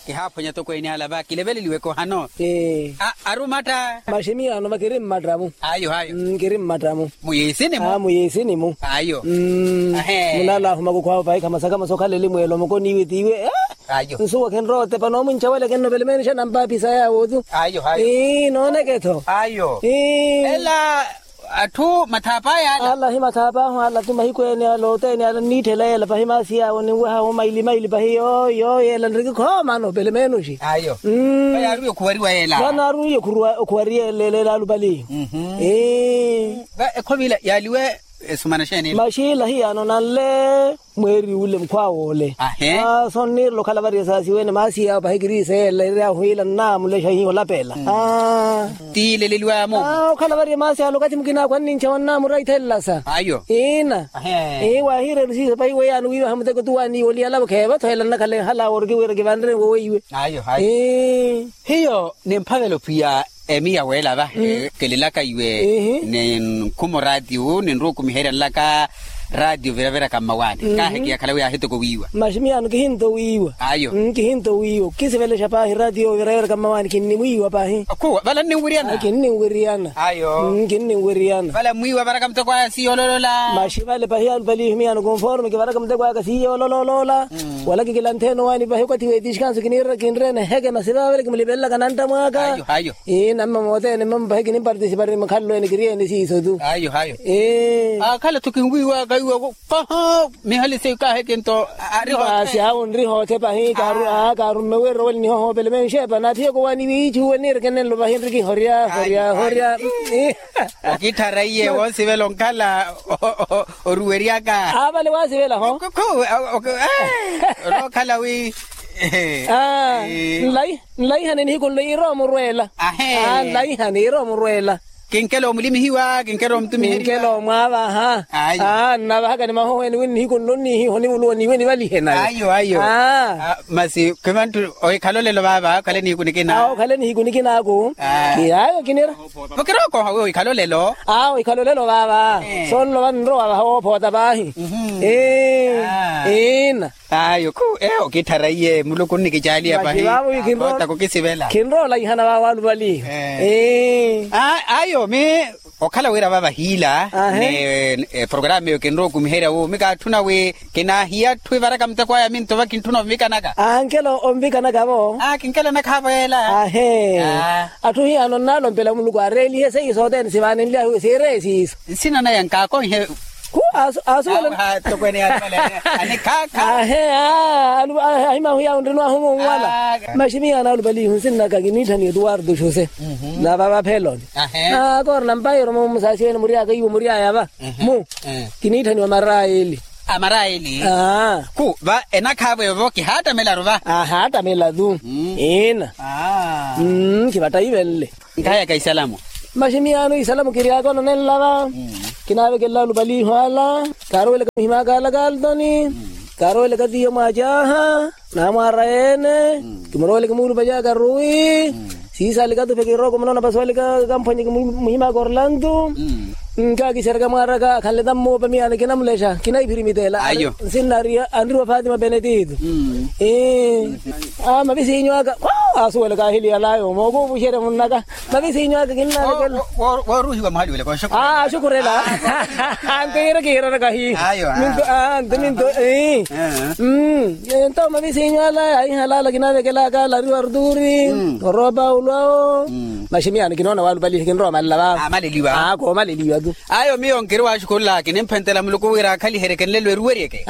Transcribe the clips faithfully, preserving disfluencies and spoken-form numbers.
Kihaaphwanya tokweene ala va kileveleliweke ohano. Arumatta. Maximiyaano va kiri mmatta-mu. Ayo ayo. Kiri mmatta-mu. Muyiisini-mu. Muyiisini-mu. Ayo. Munala ahuma kukhwaawe pahi khamasakhamasa okhala elimweelo mukoniiwe tiiwe. Ayo. Nsuwa khinrowa otepa noomunca wale kinno pelemeenixa nampaapisa yaawo-tu. Ayo ayo. Nooneke-tho. Ayo. Ela atthu mathaapa aya ala. Ala hi mathaapa ahu ala ti mahiku ene ala oteene ala nniitthela yeela pahi maasi yaawo ninwehahu maili maili pahi yooyo yeela nriki khoomano pelemeenoxi. Ayo. Vanaarwiye okhuwariwa yeela. Vanaarwiye okhuwariwa yeela alupali. Ekhomi ila yaaliwe esumana xeeni ila. Maxi ila hiyaano nanle mweeri ule mukhwaawe ole. Sonniirela okhala vari esaasi wene maasi yaawo pahi kiriisa yeela eryahu ila nnaamulexa hiyo olapela. Tiileleliwaya-mu. Okhala vari emaasi ale okathi mukinaakhu annincewa nnaamura ithelela sa. Ayo. Iina. Waahiireru siiso pahi weiyaani wiiwaha muteko tuwaaniiwe oliyalavo kheevatho ela nnakhala enhala wori kiwira kivanre woweiwe. Ayo ayo. Hiyo nimphavela ophiya emiya weela vahe kelelaka iwe ninkhumo raatiyo ninruukumiherya nlaka raatiyo viraviraka mmawaani. Kaahekiyakhala wi aahitoko wiiwa. Maximiyano kihinto wiiwa. Ayo. Kihinto wiiwa okisivelexa paahi raatiyo viraviraka mmawaani kinnimwiiwa paahi. Khuwa vala nninwiryana. Kinnimwiryana. Ayo. Kinnimwiryana vala mmwiiwa varaka muteko aya siiya ololola. Maxi vale pahi alupalihi miyano konforme kivaraka muteko aka siiya ololola. Wala kikilantheene owaani pahi okathi wetixikanso kinirira kinreene eheke masi vavale kimulipelelaka nantta mwaaka. Ayo ayo. Namma moothene mmamo pahi kinimpartisipareni mukhalelo ene kiriyeene siiso-tu. Ayo ayo. Akhala-tho kinwiiwaka iwa paha mihali seiyo kaaheke nto. Ari hoothe. Aasi awo nri hoothe pahi kaarumme wira oweli nihohoopele menxepa naathiye kowaani wiichuwe niireke nenlo pahi nri kihorya horya horya. Okitthara iye woosivela onkhala oruweryaka. Aavale waasivela ho. Orookhala wi nlaihane nihiku nlo iiromurweela. Nlaihane iiromurweela. Kinkela omulimihiwa kinkela omutumiheriwa kinkela omwaavaha. Nnavahaka ni mahohweni wi nihiku nlo nnihiho nivuluwa niiwe nivalihe nawe. Ayo ayo. Masi khimanttu ohikhala olelo vaava okhale nihiku nikinaaku. Awo okhale nihiku nikinaaku. Ayo kinira. Okirookoha wi ohikhala olelo. Awo ohikhala olelo vaava. Sonlova nrowa vaha woophoota paahi. Iina. Ayo khu eyo okitthara iye muluku onnikicaaliya pahi. Khinroolaihana vaavo alupali. Ayo mi okhala wira vaava hiila ni programa eyo kinrowa okumiherya wu mi kaatthuna wi kinaahiya atthu ivaraka muteko aya minto va kintthuna ovikanaka. Ankela ovikanaka-vo. Kinkela nakhaavo yeela. Atthu hiyaano nnalompela muluku areelihe seiyo sothene sivaanenly'ahu siireye siiso. Nsina naya nkaakonhe. Khu asuwela. Ahimahu yawo nrino ahumu onwala. Maximiyaano alupalihu nsinnaka kiniitthaniwa etuwartu xuse. Nava vapheloni. Akoorina mpairo musaasiwene muryaka iwo muryaya va mu kiniitthaniwa amaraeli. Amaraeli. Khu va enakhaavo evo kihaatamela-ru va. Ahaatamela-tu. Ina. Khivattaivenle. Nkhaayaka isalamu. Maximiyano isalamu kiryaka onanenla va. Kinaavekelela alupaliho ala. Kaarowelaka muhimaka ala kaltoni. Kaarowelaka tiyo mwacaha. Namwaara yeene. Kimuroweleke muulupacaka ruwi. Siisalika tupe kirooko munoona pasuwalika kamphwanyeke muhimaka orlantu. Nkakishereka mwaaraka akhanle tammoopa miyano kinamulexa kinaiphiri mitela. Nsinna anriwa fatima benetito. Mavisiinyo aka asuwelaka ahili yalayo mookuupuxerya munnaka. Mavisiinyo aka kinnavekela. Wooruhiwa muhali wele kooxukurela. Nto yira kiirana kahi. Nto mavisiinyo ala yaihalala kinavekelaka ala ariwa arturi. Orowa paulo awo. Maximiyano kinoona walupalihe kinrowa malala vavo. Koomaleliwa tu. Ayo miyo nkiri waxukhululaka kinimphentela muluku wira akhaliherye kenlelo eruweryeke.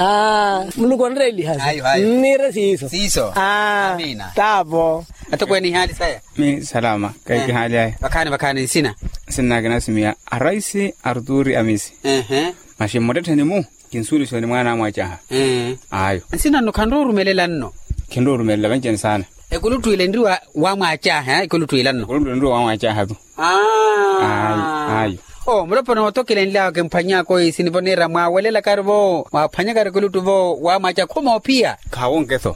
Muluku onreeliha. Niire siiso. Siiso. Amina. Taavo. Atokweene ihaali saya. Mi salama kahikihaali aya. Vakhaani vakhaani nsina. Nsinnaka nasimiya araisi arturi amisi. Maxi mmuttettheni-mu kinsuulisoni mwaana amwacaha. Ayo. Nsina nno khanrowa orumelela nno. Khinrowa orumelela vanci-ene saana. Ekuluttu ila enriwa wamwacaha ekuluttu ila nno. Ekuluttu ila enriwa wamwacaha tu. Ayo. Muloponi wootokelenly'awe kimphwany'aka oisini vo niira mwaawelela-kari-vo mwaaphwanya-kari ekuluttu-vo wamwacaha khumoophiya. Khaawonke-tho.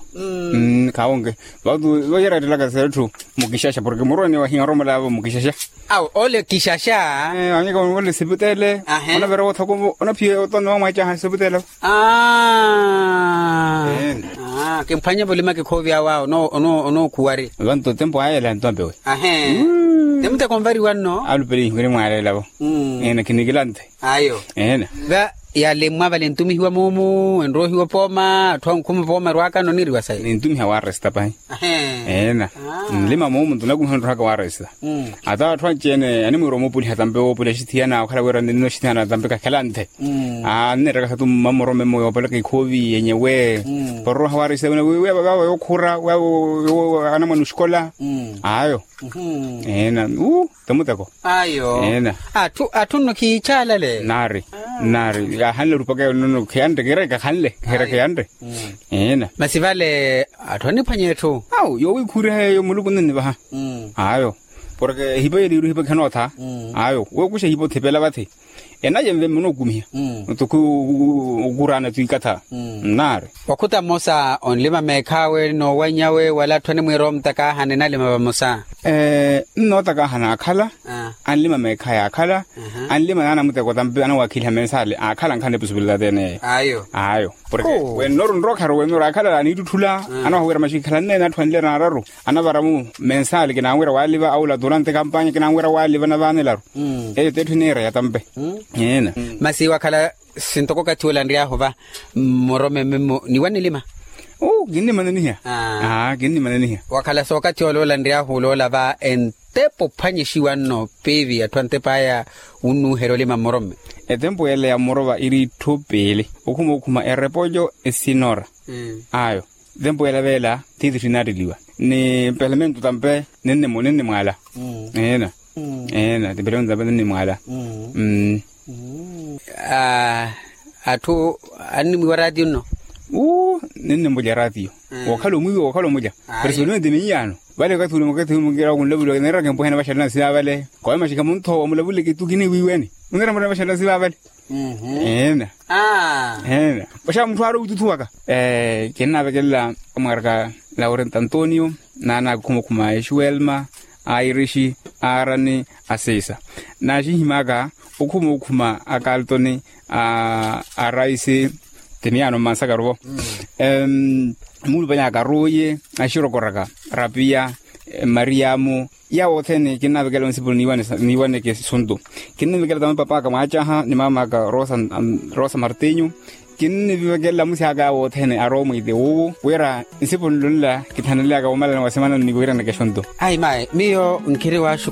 Khaawonke. Vatu voyeratelaka seretthu mukixaxa porke muroni wahiya oromolavo mukixaxa. Awo ole kixaxa. Wanyaka ole sipitele. Onavira wothoko onaphiya otonne wamwacaha sipitele. Aa. Kimphwanye vulima kikhoovi awo awo. Onookuwari. Vanto tempo aya ela ntompe we. Ahe. Temuteko nvariwa nno. Alupelihi kinimwaaleelavo. Ena kinikilante. Ayo. Ena. Va yale mmwavale ntumihiwa moomu enroohiwa opooma atthu ankhuma opooma erwaakano oniriwa sayi. Nintumiha waaresta pahi. Ena. Nlima moomu nto nakumiha onrohaka waaresta. Ata atthu anci-ene animwiira omupuliha tampe woopuliha axithiyana okhala wira ninoxithiyana tampe kakhelanthe. Anneettaka satu mmamorome mmoyo opalaka ikhoovi yenyewe. Paroroha waaresta wina wiiwe vava yookhura. Anamwana oxikola. Ayo. Ena. Temuteko. Ayo. Atthu nno khiichalale. Naari. Naari kaahanle orupaka yonono khiyanre kiireke akhanle kiireke yanre. Masi vale atthu aniphwanya etthu. Awo yoowikhuriha yeeyo muluku nninivaha. Ayo. Porke ehipa yeliiru ehipa khenootha. Ayo wookuxa ehipa othipela vathi. Enaye nve mmunookumiha. Nto khukuraana twiikatha. Nnaari. Wakhuta mmosa onlima meekhaawe noowannyawe wala atthu animwiira omutakaahana enalima vamosa. Nnootakaaha naakhala. Anlima meekha yaakhala. Anlima naana muteko tampe anawakhiliha mensaali aakhala nkhala nipusupulela teeneyo. Ayo. Porke wennoru nrookharu wennoru aakhala aniittutthula. Anawaha wira maxikhala nneene atthu anlira naararu. Anavara-mu mensaali kinaanwira waaliva aula turante kampanya kinaanwira waaliva navaanelaru. Eyo t'etthu iniira yatampe. Masi wakhala sintoko okathi olanry'ahu va mmorome mmimmo niwanilima. Kinnimananiha. Kinnimananiha. Wakhala sookathi ole olanry'ahu oloola va entepo ophwanyixiwa nno piivi atthu antepo aya wunnuuherya olima mmorome. Etempo yela ya mmorova iri itthu piili okhuma okhuma erepolyo esinora. Ayo. Tempo yela veela tiithitthi inaatteliwa ni pelemento tampe. Ninnimwaala. Eena. Eena tipelemento tampe ninnimwaala. Atthu annimwiiwa raatiyo nno. Ninnimulya raatiyo wookhala omwiiwa wookhala omulya. Presipelmente miiyaano vale okathi ule okathi ule mukiira kunlavula kineeraka empuhena vaxalana siva vale. Kowe maxikha muntho wamulavule kitu kiniwiiweni. Muneera murena vaxalana siva vale. Eena. Eena. Vaxa mutthu aari owituthuwaka. Kinnaavekelela amwaraka laurento antonio naana akhumakhuma a exuelma a irixi a arani a sisa. Naaxinhimaka okhuma okhuma a kaltoni a raisi. Timiyaano mmansakaruvo. Muulupanyaka aruuye axirokoraka rapiya mariyamu. Yawo othene kinnaavikela onsipuni niiwaneke suntu. Kinnimvikela tama papaaka mwaacaha ni maamaaka rosa martinho. Kinnivekela amusi aka yawo othene arowa mwiite wuwo wira nsipuni nlunla kithaneleyaka womalana wa semana nniwiiraneke xuntu. Ayi mayi miyo nkhiri waaxu.